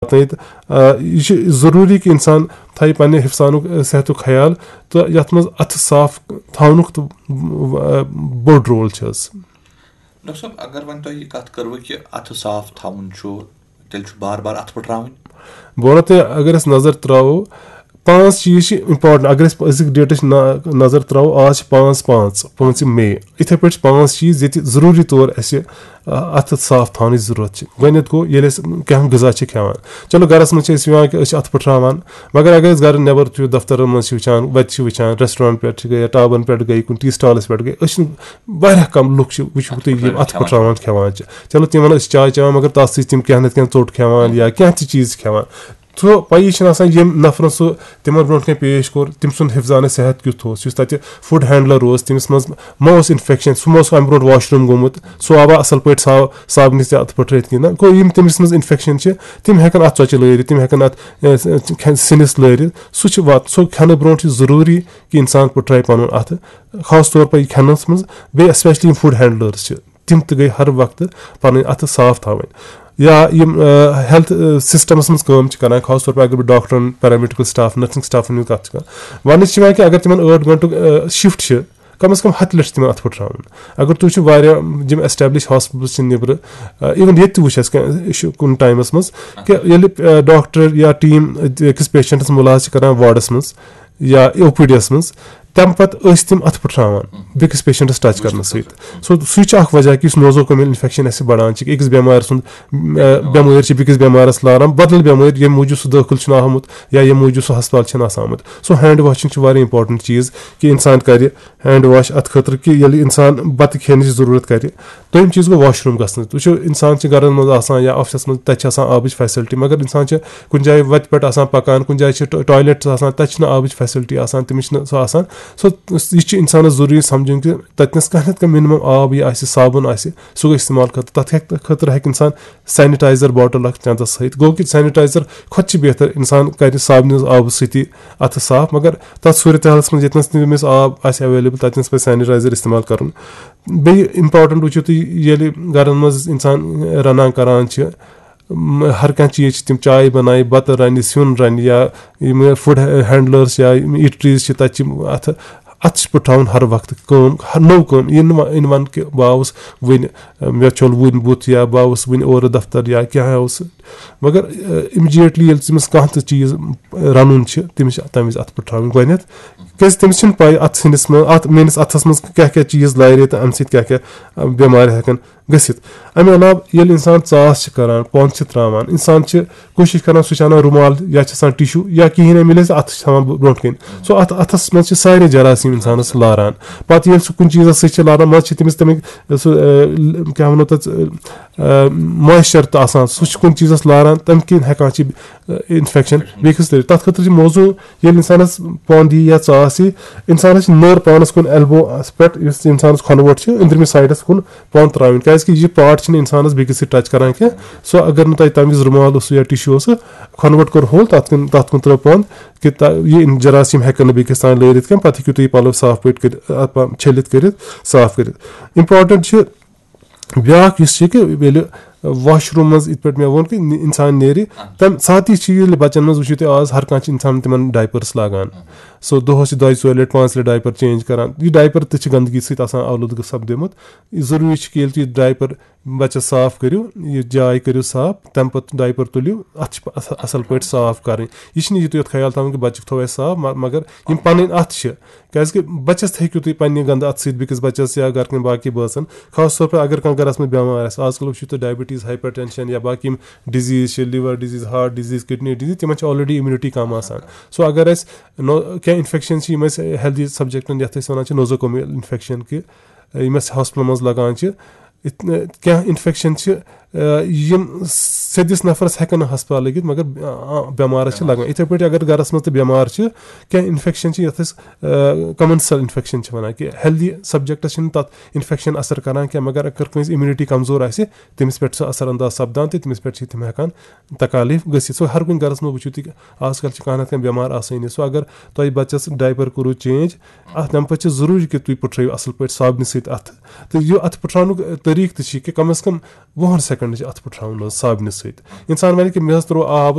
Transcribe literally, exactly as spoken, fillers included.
واتنٲیِتھ۔ آ، یہِ چھُ ضروٗری کہِ اِنسان تھایہِ پننہِ حفظانُک، آ، صحتُک خیال، تہٕ یَتھ منٛز اَتھٕ صاف تھاونُک تہٕ، آ، بوٚڑ رول چھُ حظ۔ ڈاکٹر صٲب، اگر وۄنۍ تۄہہِ یہِ کَتھ کٔروٕ کہِ اَتھٕ صاف تھاوُن چھُ، تیٚلہِ چھُ بار بار اَتھٕ پھٕٹراوٕنۍ۔ بہٕ وَنو تۄہہِ، اگر أسۍ نظر ترٛاوو، پانٛژھ چیٖز چھِ important۔ اگر أسۍ أزِکۍ ڈیٹٕچ نا-، نظر ترٛاوو، آز چھِ پانٛژھ پانٛژھ، پانٛژھ مے۔ یِتھے پٲٹھۍ چھِ پانٛژھ چیٖز ییٚتہِ ضروٗری طور اَسہِ، آ، اَتھٕ صاف تھاونٕچ ضروٗرت چھِ۔ گۄڈٕنیتھ گوٚو، ییٚلہِ أسۍ کانٛہہ غذا چھِ کھٮ۪وان، چلو، گرس منٛز چھِ أسۍ یِوان کہِ أسۍ چھِ اَتھٕ پھٕٹراوان، مگر اگر أسۍ گرٕ نٮ۪بر چھِ، دفترن منٛز چھِ وٕچھان، وَتہِ چھِ وٕچھان، restaurant پٮ۪ٹھ چھِ گٔے یا ٹابن پٮ۪ٹھ گٔے، کُنہِ tea stallس پٮ۪ٹھ گٔے، أسۍ چھِنہٕ، واریاہ کم لُکھ چھِ، وٕچھِو تُہۍ، یِم اَتھٕ پھٕٹراوان کھٮ۪وان چھِ۔ چلو، تِمن أسۍ چاے چٮ۪وان، مگر تَتھ سۭتۍ تِم کینٛہہ نتہٕ کینٛہہ ژوٚٹ کھٮ۪وان یا کینٛہہ تہِ چیٖز چھِ کھٮ۪وان۔ سُہ پَیی چھِنہٕ آسان، ییٚمۍ نفرَن سُہ تِمن برونٛٹھ کَنہِ پیش کوٚر، تٔمۍ سُنٛد حفظانِ صحت کیُتھ اوس، یُس تَتہِ food handler اوس، تٔمِس منٛز ما اوس infection، سُہ ما اوس اَمہِ برونٛٹھ washroom گوٚمُت، سُہ آوا اَصٕل پٲٹھۍ صاف، صابنہِ سۭتۍ اَتھٕ پھٕٹرٲیِتھ کِنہٕ نہ۔ گوٚو، یِم تٔمِس منٛز infection چھِ، تِم ہٮ۪کَن اَتھ ژۄچہِ لٲرِتھ، تِم ہٮ۪کَن اَتھ، اے، س-، کھٮ۪ن-، سِنِس لٲرِتھ۔ سُہ چھُ وات-، سُہ کھٮ۪نہٕ برونٛٹھ چھُ ضروٗری کہِ اِنسان پھٕٹرایہِ پَنُن اَتھٕ، خاص طور پَر یہِ کھٮ۪نَس منٛز، بیٚیہِ especially یِم food handlers چھِ، تِم تہِ گٔے ہر وقتہٕ پَنٕنۍ اَتھٕ صاف تھاوٕنۍ۔ یا یِم، آ، health، آ، systemس منٛز کٲم چھِ کران، خاص طور پَر اگر بہٕ ڈاکٹرن، paramedical staff، nursing staffن ہٕنٛز کَتھ چھِ کران، وَننہٕ چھِ یِوان کہِ اگر تِمن ٲٹھ گھنٹُک، آ، shift چھِ، کم از کم ہَتھ لَٹہِ چھِ تِمن اَتھٕ پھٕٹراوُن۔ اگر تُہۍ وٕچھِو، واریاہ یِم established hospitals چھِ نیٚبرٕ، آ، even ییٚتہِ تہِ وٕچھ اَسہِ کینٛہہ، یہِ چھُ کُنہِ timeس منٛز کہِ ییٚلہِ، آ، ڈاکٹر یا team أکِس patientس مُلاحظہٕ چھِ کران wardس منٛز یا OPDس منٛز، تَمہِ پَتہٕ ٲسۍ تِم اَتھٕ پھٕٹراوان بیٚکِس patientس touch کرنہٕ سۭتۍ۔ So، سُے چھُ اکھ وجہ کہِ یُس nosocomial infection اَسہِ بڑان چھِ، أکِس بٮ۪مارِ سُنٛد، آ، بٮ۪مٲرۍ چھِ بیٚکِس بٮ۪مارَس لاران، بدل بٮ۪مٲرۍ، ییٚمہِ موٗجوٗب سُہ دٲخل چھُنہٕ آمُت یا ییٚمہِ موٗجوٗب سُہ ہسپتال چھُنہٕ آسان آمُت۔ So، hand washing چھِ واریاہ important چیٖز کہِ اِنسان کرِ hand wash اَتھ خٲطرٕ کہِ ییٚلہِ اِنسان بَتہٕ کھٮ۪نٕچ ضروٗرت کرِ۔ دوٚیِم چیٖز گوٚو washroom گژھنٕچ۔ وٕچھِو، اِنسان چھِ گرن منٛز آسان یا officeس منٛز، تَتہِ چھِ آسان آبٕچ facility، مگر اِنسان چھِ کُنہِ جایہِ وَتہِ پٮ۪ٹھ آسان پَکان، کُنہِ جایہِ چھِ ٹا-، toilet چھِ آسان، تَتہِ چھِنہٕ آبٕچ facility آسان، تٔمِس چھِنہٕ سۄ آسان۔ So، یہِ چھِ اِنسانَس ضروٗری سَمجھُن کہِ تَتِنَس کانٛہہ نَتہٕ کانٛہہ minimum آب یہِ آسہِ، صابُن آسہِ، سُہ گوٚو اِستعمال خٲطرٕ۔ تَتھ ہیٚکہِ، خٲطرٕ ہیٚکہِ اِنسان sanitizer bottle اَکھ چَندَس تھٲیِتھ۔ گوٚو کہِ sanitizer کھۄتہٕ چھِ بہتر اِنسان کَرِ صابنہِ ہٕنٛز آبہٕ سۭتی اَتھٕ صاف، مگر تَتھ صوٗرت حالَس منٛز ییٚتنَس نہٕ تٔمِس آب آسہِ available، تَتِنَس پَزِ sanitizer اِستعمال کَرُن۔ بیٚیہِ important وٕچھِو تُہۍ، ییٚلہِ گَرَن منٛز اِنسان رَنان کَران چھِ، م-، ہر کانٛہہ چیٖز چھِ تِم، چاے بَنایہِ، بَتہٕ رَنہِ، سیُن رَنہِ، یا یِم food handlers یا یِم eateries چھِ، تَتہِ چھِ اَتھٕ، اَتھٕ چھِ پٲٹھۍ تھاوُن ہر وقتہٕ کٲم، ہر نٔو کٲم۔ یہِ نہٕ وَ-، یہِ نہٕ وَن کہِ بہٕ آوُس وٕنہِ، مےٚ چھوٚل وٕنہِ بُتھ، یا بہٕ آوُس وٕنہِ اورٕ دفتر، یا کیٛاہ آوُس۔ مگر، آ، immediately ییٚلہِ تٔمِس کانٛہہ تہِ چیٖز رَنُن چھِ، تٔمِس چھِ تَمہِ وِزِ اَتھٕ پٲٹھۍ تھاوٕنۍ گۄڈٕنٮ۪تھ۔ کیٛازِ تٔمِس چھِنہٕ پَے اَتھ سِنِس منٛز، اَتھ میٛٲنِس اَتھَس منٛز کیٛاہ کیٛاہ چیٖز لارِ تہٕ اَمہِ سۭتۍ کیٛاہ کیٛاہ، آ، بٮ۪مارِ ہٮ۪کَن گٔژھِتھ۔ اَمہِ علاوٕ ییٚلہِ اِنسان ژاس چھِ کَران، پونٛد چھِ ترٛاوان، اِنسان چھِ کوٗشِش کَران، سُہ چھِ اَنان روٗمال یا چھِ آسان tissue یا کِہیٖنۍ نہٕ مِلے، سُہ اَتھٕ چھِ تھاوان برٛونٛٹھ کَنہِ۔ سُہ اَتھ، اَتھَس منٛز چھِ سارے جراثیٖم اِنسانَس لاران۔ پَتہٕ ییٚلہِ سُہ کُنہِ چیٖزَس سۭتۍ چھِ لاران، منٛزٕ چھِ تٔمِس تَمِکۍ سُہ، آ، کیٛاہ وَنو تَتھ، آ، moisture تہٕ آسان، سُہ چھُ کُنہِ چیٖزَس لاران، تَمہِ کِنۍ ہٮ۪کان چھِ، آ، infection بیٚکِس لٲرِتھ۔ تَتھ خٲطرٕ چھِ موضوٗع، ییٚلہِ اِنسانَس پونٛد یی یا ژاس یی، اِنسانَس چھِ نٔر پانَس کُن elbow پٮ۪ٹھ، یُس اِنسانَس کھۄنہٕ ووٚٹ چھِ، أنٛدرِمہِ sideس کُن پونٛد ترٛاوٕنۍ، کیٛازِکہِ یہِ part چھِنہٕ اِنسانَس بیٚکِس سۭتۍ touch کَران کینٛہہ۔ سُہ اگر نہٕ تۄہہِ تَمہِ وِزِ روٗمال اوسوٕ یا tissue اوسوٕ، کھۄنہٕ ووٚٹ کوٚر hold، تَتھ کُن، تَتھ کُن ترٛٲو پونٛد، کہِ تا-، یہِ جراثیٖم ہٮ۪کَن نہٕ بیٚکِس تام لٲرِتھ کینٛہہ، پَتہٕ ہیٚکِو تُہۍ یہِ پَلو صاف پٲٹھۍ کٔرِتھ، اَتھ پا-، چھٔلِتھ کٔرِتھ، صاف کٔرِتھ۔ Important چھِ بیٛاکھ یُس چھِ کہِ ییٚلہِ washroom منٛز یِتھ پٲٹھۍ مےٚ ووٚن کہِ نِ-، اِنسان نیرِ، تَمہِ ساتہٕ تہِ چھِ ییٚلہِ بَچَن منٛز وٕچھِو تُہۍ آز ہر کانٛہہ چھِ اِنسان تِمَن diapers لاگان۔ So دۄہَس چھِ دۄیہِ ژورِ لَٹہِ، پانٛژِ لَٹہِ diaper change کَران۔ یہِ diaper تہِ چھِ گنٛدگی سۭتۍ آسان آلوٗدگہٕ سَپدیمُت۔ یہِ ضروٗری چھُ کہِ ییٚلہِ تُہۍ diaper بَچَس صاف کٔرِو، یہِ جاے کٔرِو صاف، تَمہِ پَتہٕ diaper تُلِو، اَتھ چھِ اَص-، اَصٕل پٲٹھۍ صاف کَرٕنۍ۔ یہِ چھِنہٕ یہِ تہِ یوت خیال تھاوُن کہِ بَچَس تھوٚو اَسہِ صاف، م-، مگر یِم پَنٕنۍ اَتھٕ چھِ، کیٛازِکہِ بَچَس تہِ ہیٚکِو تُہۍ پنٛنہِ گَنٛدٕ اَتھٕ سۭتۍ بیٚکِس بَچَس یا گَرٕ کٮ۪ن باقٕے بٲژَن، خاص طور پَر اگر کانٛہہ گَرَس منٛز بٮ۪مار آسہِ۔ آز کَل وٕچھِو تُہۍ diabetes، hypertension یا باقٕے یِم disease چھِ، liver disease، heart disease، kidney disease، تِمَن چھِ already immunity کَم آسان۔ So اگر اَسہِ نو-، کینٛہہ infection چھِ یِم اَسہِ healthy subjectن، یَتھ أسۍ وَنان چھِ nosocomial infection کہِ یِم اَسہِ ہاسپِٹلَن منٛز لَگان چھِ، یِتھ-، کینٛہہ infection چھِ، آ، یِم سیٚدِس نفرَس ہٮ۪کَن نہٕ ہسپتال لٔگِتھ، مگر، آ، آ، بٮ۪مارَس چھِ لَگان۔ یِتھَے پٲٹھۍ اگر گَرَس منٛز تہِ بٮ۪مار چھِ، کینٛہہ infection چھِ، یَتھ أسۍ، آ، commensal infection چھِ وَنان، کہِ healthy subjectس چھِنہٕ تَتھ infection اثر کَران کینٛہہ، مگر اگر کٲنٛسہِ immunity کمزور آسہِ، تٔمِس پٮ۪ٹھ چھُ سُہ اثر انداز سپدان تہٕ تٔمِس پٮ۪ٹھ چھِ تِم ہٮ۪کان تکالیٖف گٔژھِتھ۔ So ہر کُنہِ گَرَس منٛز وٕچھِو تُہۍ، آز کَل چھِ کانٛہہ نَتہٕ کانٛہہ بٮ۪مار آسٲنی۔ So اگر تۄہہِ بَچَس diaper کوٚروٕ change، اَتھ تَمہِ پَتہٕ چھِ ضروٗری کہِ تُہۍ پٔٹھرٲیِو اَصٕل پٲٹھۍ صابنہِ سۭتۍ اَتھٕ۔ تہٕ یہِ اَتھٕ پٔٹھراونُک طریٖقہٕ تہِ چھِ کہِ کم از کم وُہَن secondن کنڈِ چھِ اَتھٕ پھٕٹراوُن حظ صابنہِ سۭتۍ۔ اِنسان وَنہِ کہِ مےٚ حظ ترٛوو آب